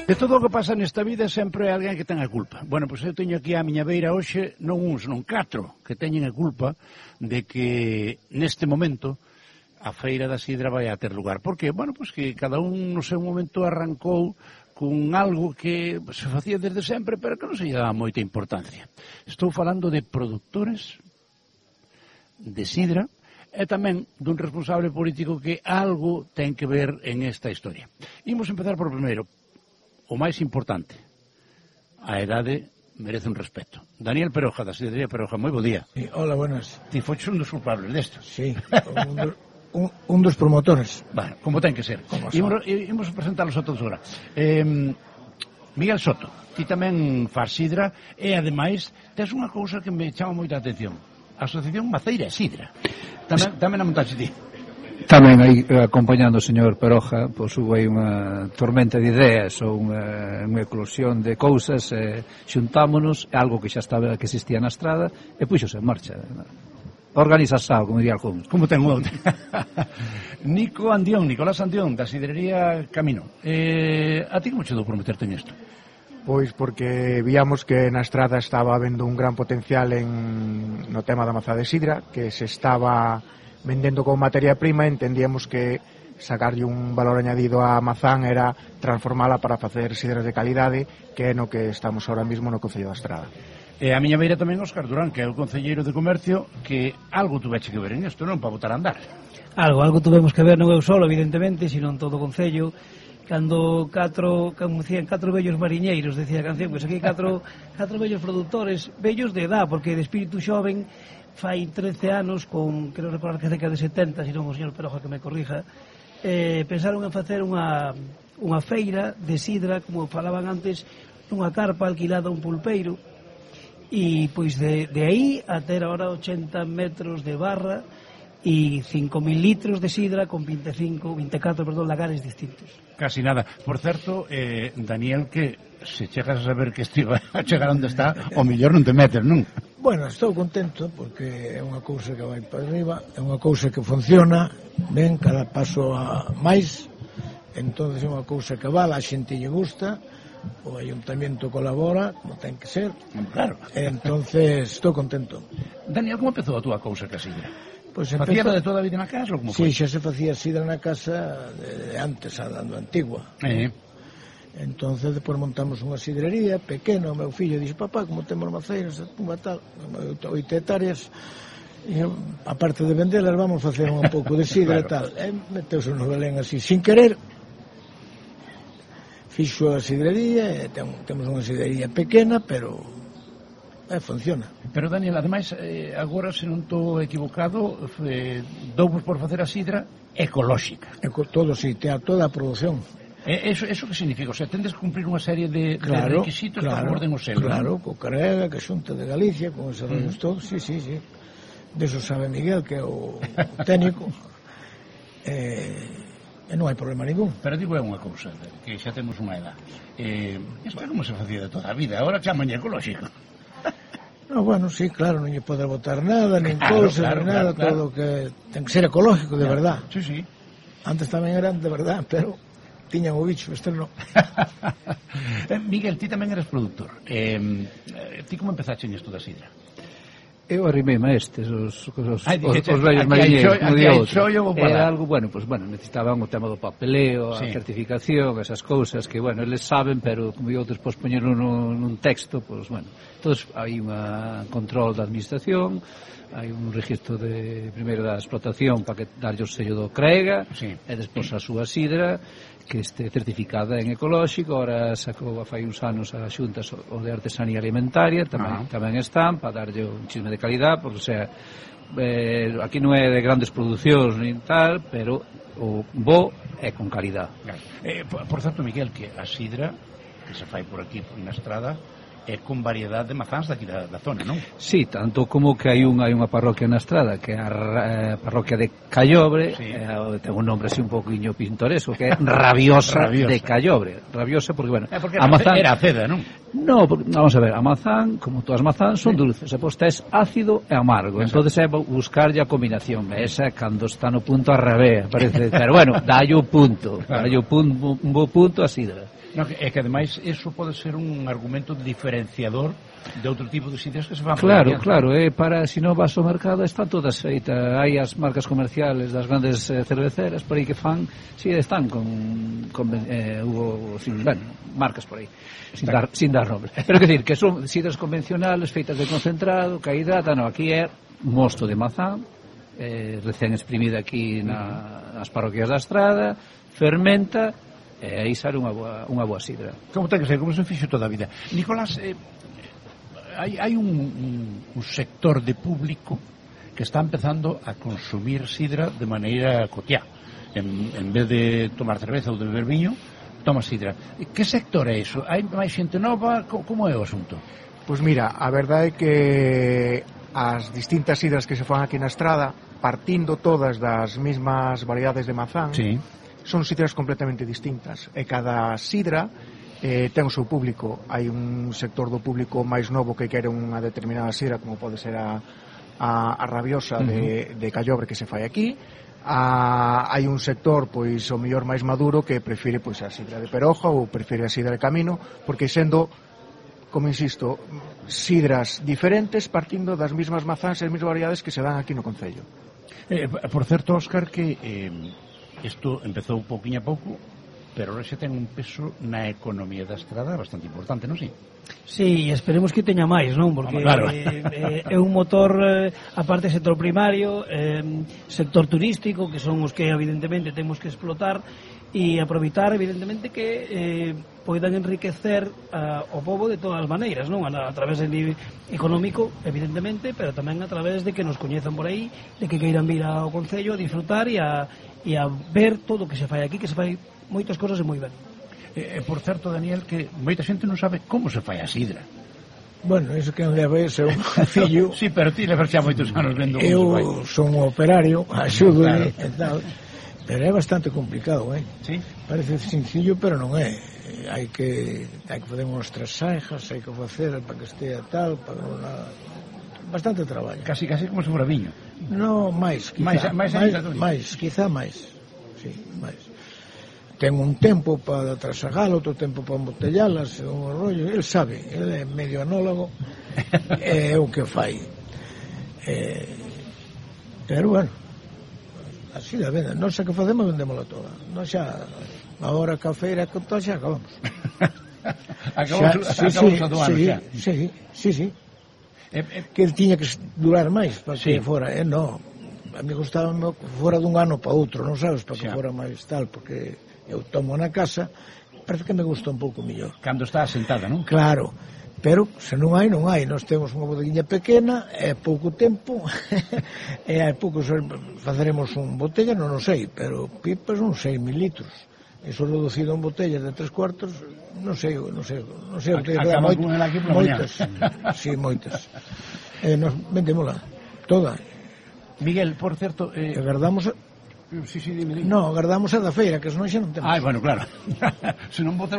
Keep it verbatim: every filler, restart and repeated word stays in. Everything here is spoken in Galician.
De todo o que pasa nesta vida sempre hai alguén que ten a culpa. Bueno, pois eu teño aquí a miña beira hoxe non uns, non catro que teñen a culpa de que neste momento a feira da sidra vai a ter lugar. Por que? Bueno, pois que cada un no seu momento arrancou con algo que se facía desde sempre, pero que non se lle daba moita importancia. Estou falando de produtores de sidra e tamén dun responsable político que algo ten que ver en esta historia. Imos empezar por primeiro. O máis importante, a edade merece un respeto. Daniel Peroja, da Sidrería Peroja, moi bo día. Sí, hola, buenas. Ti foches un dos culpables desto. Sí, un, do, un, un dos promotores. Bueno, como ten que ser. Imos, imos presentarlos a todos agora. Eh, Miguel Soto, ti tamén faz sidra e, ademais, tes unha cousa que me chama moita atención. A Asociación Maceira e Sidra. Tamén, tamén a montaxe ti. Tamén aí acompañando o señor Peroja, pois hubo aí unha tormenta de ideas ou unha, unha eclosión de cousas, e xuntámonos, algo que xa estaba, que existía na estrada, e puxose en marcha. Organiza sao, como diría algún. Como ten o Nico Andión, Nicolás Andión, da Sidrería Camino. Eh, a ti como che dou por meterte en isto? Pois porque víamos que na estrada estaba habendo un gran potencial en, no tema da mazá de sidra, que se estaba vendendo como materia prima, entendíamos que sacarlle un valor añadido á mazán era transformala para facer sidras de calidade, que é no que estamos ahora mismo no Concello da Estrada. E a miña beira tamén Óscar Durán, que é o concelleiro de Comercio, que algo tuveche que ver en isto, non? Para botar a andar. Algo, algo tuvemos que ver, non eu solo, evidentemente, sino en todo o Concello. Cando catro, como decían, catro vellos mariñeiros, decía a canción, pois aquí catro, catro vellos produtores, vellos de edad, porque de espírito xoven, fai trece anos, con, quero recordar que cerca de setenta, se non o señor Peroja que me corrija, eh, pensaron en facer unha, unha feira de sidra, como falaban antes, nunha carpa alquilada a un pulpeiro, e pois de, de aí a ter ahora ochenta metros de barra e cinco mil litros de sidra con veinticinco, veinticuatro, perdón, lagares distintos. Casi nada. Por certo, eh, Daniel, que se chegas a saber que estiva a chegar onde está, o mellor non te metes, non? Bueno, estou contento porque é unha cousa que vai para arriba, é unha cousa que funciona ben, cada paso a máis, entonces é unha cousa que vale, a xente lle gusta, o ayuntamiento colabora, como ten que ser, claro. Entonces estou contento. Daniel, como empezou a túa cousa que a sidra? Pues ¿Facía de toda a vida na casa ou como foi? Sí, xa se facía sidra na casa de, de antes, a da antigua. Eh. Entonces depois montamos unha sidrería pequena, o meu fillo dixo, papá, como temos maceiras, unha tal, oito hectáreas, e aparte de vendelas vamos facer un pouco de sidra e tal. E meteuse no Belén así, sin querer, fixo a sidrería, e ten, temos unha sidrería pequena, pero eh, funciona. Pero Daniel, ademais, eh, agora, se non estou equivocado, eh, douvos por facer a sidra ecolóxica. Eco, todo, sí, ten toda a produción. Eh, eso, eso que significa? O sea, tendes que cumplir unha serie de, claro, de requisitos claro, para que orden o selo. Claro, co Carega, que Xunta de Galicia, con esos rollos mm. todos, sí, sí, sí. De eso sabe Miguel, que é o técnico. Eh, e non hai problema ningún. Pero digo é unha cousa, que xa temos unha edad. Eh, isto é como se facía de toda a vida, agora chaman ecolóxico. No, bueno, sí, claro, non lle pode botar nada, nin claro, cousa, claro, nin nada, claro, claro. Todo que ten que ser ecológico, de claro. verdad. Sí, sí. Antes tamén eran de verdad, pero tiñan o bicho, este non. Miguel, ti tamén eres produtor. Eh, ti como empezaste en isto da sidra? Eu arrimei estes, os, os, Ay, os, dije, os vellos mariñeiros, como di outro. Era algo, bueno, pues, bueno, necesitaban o tema do papeleo, sí. A certificación, esas cousas que, bueno, eles saben, pero como di outros, pois, poñeron nun, nun texto, pois, bueno, entonces hai un control da administración, hai un registro de primeiro da explotación para que darlle o sello do Crega, sí. E despois a súa sidra, que este certificada en ecolóxico. Ahora sacou fai uns anos a Xunta o de artesanía alimentaria, tamén, uh-huh. tamén están para darlle un chisme de calidad, porque o sea, eh, aquí non é de grandes producións nin tal, pero o bo é con calidad. Claro. Eh, por, por certo, Miguel, que a sidra que se fai por aquí na estrada é con variedade de mazáns daqui da, da zona, non? Sí, tanto como que hai unha, hai unha parroquia na estrada, que é a eh, parroquia de Callobre, sí. eh, ten un nombre así un poquinho pintoresco, que é Rabiosa, Rabiosa. de Callobre. Rabiosa porque, bueno, eh, porque a mazán... era ceda, non? No, porque, vamos a ver, a mazán, como todas as mazán, son sí. dulces, e pois tes ácido e amargo, entonces é buscarlle a combinación, esa cando está no punto a revés, parece, pero bueno, dalle o punto, claro. dalle o punto, un bo punto a sidra. No, é que ademais eso pode ser un argumento diferenciador de outro tipo de sidras que se van claro, claro, eh, para, se non vas ao mercado están todas feitas, hai as marcas comerciales das grandes eh, cerveceras por aí que fan, si sí, están con, con eh, hubo, sin, bueno, marcas por aí sin dar, sin dar nombre, pero que decir, que son sidras convencionales feitas de concentrado que hidrata, no, aquí é mosto de mazán eh, recén exprimida aquí na, nas parroquias da Estrada, fermenta e aí sale unha boa, unha boa sidra. Como ten que ser, como se fixo toda a vida. Nicolás, eh, hai, hai un, un, un sector de público que está empezando a consumir sidra de maneira cotiá. En, en vez de tomar cerveza ou de beber viño, toma sidra. Que sector é iso? Hai máis xente nova? Como é o asunto? Pois mira, a verdade é que as distintas sidras que se fan aquí na Estrada, partindo todas das mesmas variedades de mazán, sí, son sidras completamente distintas e cada sidra eh, ten o seu público. Hai un sector do público máis novo que quere unha determinada sidra, como pode ser a, a, a rabiosa uh-huh. de, de Callobre que se fai aquí. A, hai un sector pois o mellor máis maduro que prefire pois a sidra de Peroja ou prefire a sidra de Camino, porque sendo, como insisto, sidras diferentes partindo das mesmas mazáns e as mesmas variedades que se dan aquí no concello. Eh, por certo, Óscar, que eh, isto empezou pouquinho a pouco, pero ahora xa ten un peso na economía da Estrada bastante importante, non si? Sí, esperemos que teña máis, non? Porque claro. eh, é un motor, eh, aparte sector primario, eh, sector turístico, que son os que evidentemente temos que explotar e aproveitar, evidentemente, que eh, poidan enriquecer a, o pobo de todas as maneiras, non? A, a través del nivel económico, evidentemente, pero tamén a través de que nos coñezan por aí, de que queiran vir ao Concello a disfrutar e a, e a ver todo o que se fai aquí, que se fai moitas cosas e moi ben. Eh, por certo, Daniel, que moita xente non sabe como se fai a sidra. Bueno, iso que non leva é un fillo. Sí, pero ti levas xa moitos anos vendo como se fai. Eu son un operario, axudo claro. E tal, pero é bastante complicado, eh? Sí? Parece sencillo, pero non é. Hai que hai que fazer unhas trasajas, hai que facer para que estea tal, para una... bastante traballo. Casi, casi como se fora viño. No, máis, quizá. Máis, máis, máis, máis quizá máis. Sí, máis. Ten un tempo para trasagar, outro tempo para embotellalas, un rollo, el sabe, el é medio anólogo, é o que fai. Eh, pero bueno, así da venda. Non sei que facemos, vendémola toda. Non xa, agora que a feira con todo xa acabamos. Acabamos, xa, sí, acabamos sí, a do ano sí, xa. Sí, sí, sí. Eh, eh, que el tiña que durar máis para sí. que fora, eh, no. A mí gustaba que fora dun ano para outro, non sabes, para que xa. Fora máis tal, porque eu tomo na casa, parece que me gusta un pouco mellor. Cando está asentada, non? Claro, pero se non hai, non hai. Nós temos unha bodeguinha pequena, é pouco tempo, e hai pouco, faceremos un botella, non o sei, pero pipas non sei, mil litros. Eso reducido en botellas de tres cuartos, non sei, non sei, non sei, acaba con el aquí por moitas, sí, moitas. Eh, nos vendémola toda. Miguel, por certo, eh... agardamos. Sí, sí, dime, dime. No, agardamos a da feira, que senón xa non temos. Ah, bueno, claro. Se non botar